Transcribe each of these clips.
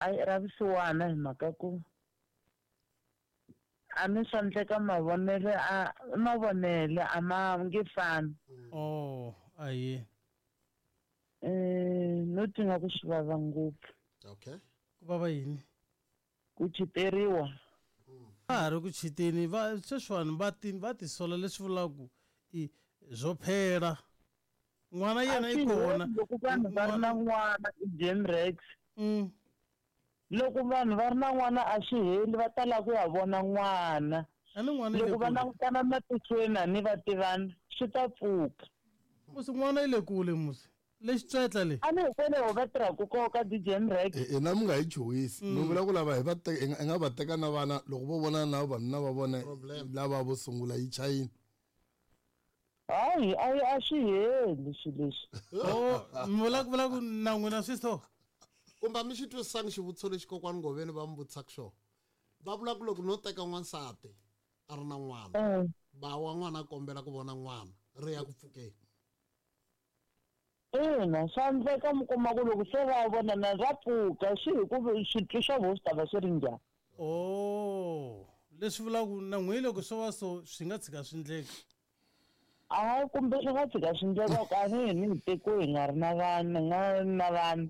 Ayi ra vusiwana hi mhaka ku a ni swa ndleka mavonele a mavonele a ma nge fani. Oh, aye. Eh no twi nga ku swi vava ngopfu. Okay. Ku vava yini? Ku chiteriwa. Va ha ri ku chiteni va sweswiwani va ti va tisola leswi vulaka ku i zwo phela. N'wana yena i kona. Loko vanhu va ri na n'wana i Jim Rex. Loko vanhu va ri na n'wana a swi heli va ta lava ku ya vona n'wana. A ni n'wana i le Loko va kule. langutana matihlweni a ni va tivana swi ta pfuka. Musi n'wana i le kule musi. Lexi tswetla le. A ni hikwalaho va tirhaka koho ka DJ Mrex. Hina mi nga hi chuhisi. Mi vula ku lava hi va teka hi nga va teka na vana loko vo vonana na vavanuna va vona lava vo sungula yi chayini. Hayi a yi a swi heli swilo leswi. Oh, mi vula ku vula ku na n'wina swi so. Kumbe a mi xi twisisangi xivutiso lexi kokwani Ngoveni va mi vutisaka xona. Va vula ku loko no teka n'wansati a ri na n'wana, ba wa n'wana a kombela ku vona n'wana, ri ya ku pfukeni. Ina, swa endleka mi kuma ku loko se va vonana ra pfuka swi hi ku switwi swa vona swi ta va swi ri njhani. Oh, leswi vulaka ku na n'wina loko swo va so swi nga tshika swi ndleka. Hayi kumbe swi nga tshika swi ndleka ku a ni hi ni hi tekiwe hi nga ri na vana hi nga ri na vana.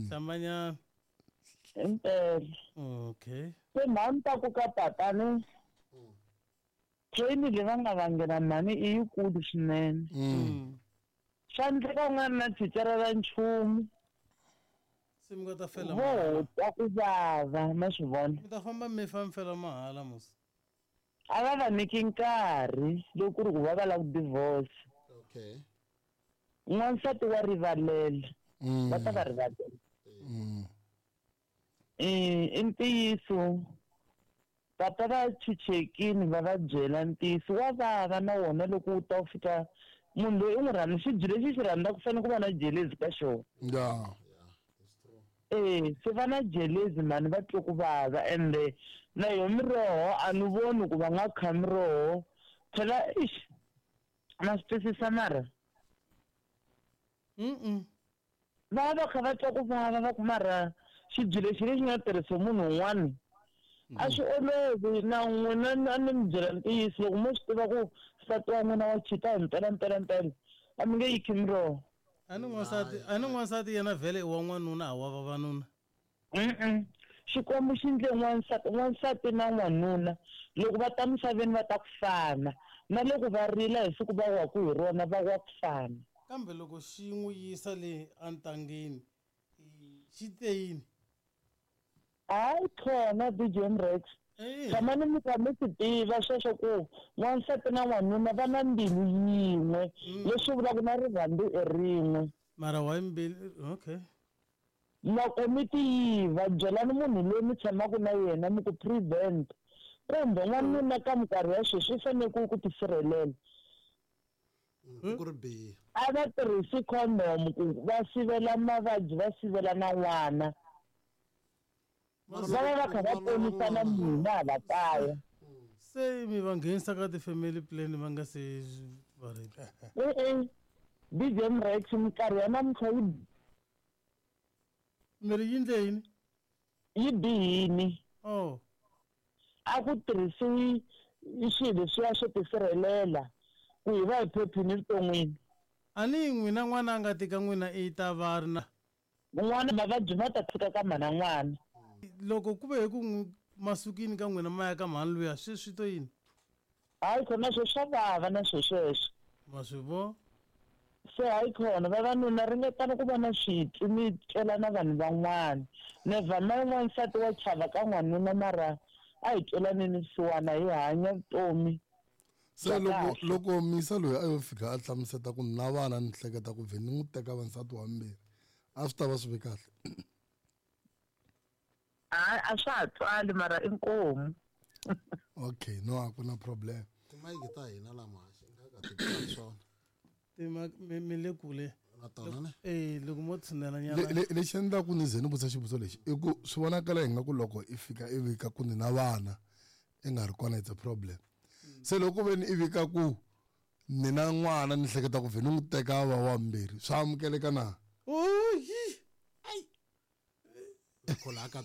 Hlambanyana. Impela. Okay. Se mhani ta ku ka papa ni pain leyi va nga vangela mhani i yikulu swinene. Swa endleka u nga ri na thicara ra nchumu. Se mi nga ta fela Vo mahala. twa ku vava ma swi vona. Mi ta famba mi fa mi fela mahala musi. A va va nyiki nkarhi loko ku ri ku va va lava ku divorce. Okay. N'wansati wa rivalela. Va ta va rivalela. I ntiyiso papa va chuchekini va va byela ntiyiso wa vava na wona loko wu ta wu fika munhu loyi u n'wi rhandza xibye lexi xi rhandzaka ku fanele ku va na jelezi ka xona. Yeah. Eh, se va na jelezi mhani va twe ku vava ende na yo miroho a ni voni ku va nga kha miroho phela ixi ma swi twisisa mara va va kha va twa ku vava va ku mara xibye lexi lexi nga tirhisa munhu un'wana a swi olovi na n'wina a ni mi byela ntiyiso loko mo swi tiva ku nsati wa n'wina wa chita hi mpela mpela mpela a mi nge yi khi miroho. A ni n'wansati a ni n'wansati yena vhele i wa n'wanuna a wa vavanuna. Mm-mm. Xikwembu xi ndle n'wansati n'wansati na n'wanuna loko va ta misaveni va ta ku fana na loko va rila hi siku va waku hi rona va wa ku fana. Kambe loko xi n'wi yisa le entangeni xi te yini? Hayi khona DJ Mrex. Tshamani mi kha mi swi tiva sweswo ku n'wansati na n'wanuna va na mbilu yin'we leswi vulaka na rirhandzu i rin'we. Mara why mbilu okay. Loko mi ti yiva byelani munhu loyi mi tshamaka na yena mi ku prevent kumbe n'wanuna ka minkarhi ya sweswi i fanele ku ku tisirhelela. Ku ri biha. A va tirhisi condom ku va sivela mavabyi va sivela na n'wana. Va va va kha va ponisa na mina hala kaya. Se mi va nghenisa ka ti-family plan va nga se va ready. E-e DJ Mrex minkarhi ya namuntlha yi Mi ri yi ndle yini? Yi bihini. Oh. A ku tirhisiwi swilo leswiya swo tisirhelela ku hi va hi phephini evuton'wini. A ni n'wina n'wana a nga tika n'wina i ta va ri na. N'wana mavabyi ma ta tshika ka mhana n'wana. Loko ku ve hi ku n'wi masukini ka n'wina ma ya ka mhani luya swi swi to yini? Hayi khona swo swa vava na swo sweswo. Ma swi vo? Se hayi khona vavanuna ringetani ku va na switwi mi twela na vanhu van'wana. Never mind n'wansati wa chava ka n'wanuna mara a hi twelaneni vusiwana hi hanya vutomi Se bya loko kahle. loko misa loyi a yo fika a hlamuseta ku na vana ni hleketa ku vhe ni n'wi teka va nsati wa mbirhi a swi ta va swi ve kahle. Hayi a swa ha twali mara inkomu. Okay no a ku na problem. Timayiki ta hina la muhaxi nga ka ti twali swona. Tima mi mi le kule. Na tona ne? Eh loko mo tshinela nyana. Le lexi endlaku ni ze ni vutisa xivutiso lexi i ku swi vonakala ingaku loko i fika i vika ku ni na vana i nga ri kona it's a problem. Se loko ve ni i vika ku ni na n'wana ni hleketa ku vhe ni n'wi teka a va wa mbirhi swa amukeleka na? Oyi. Ai. khola ka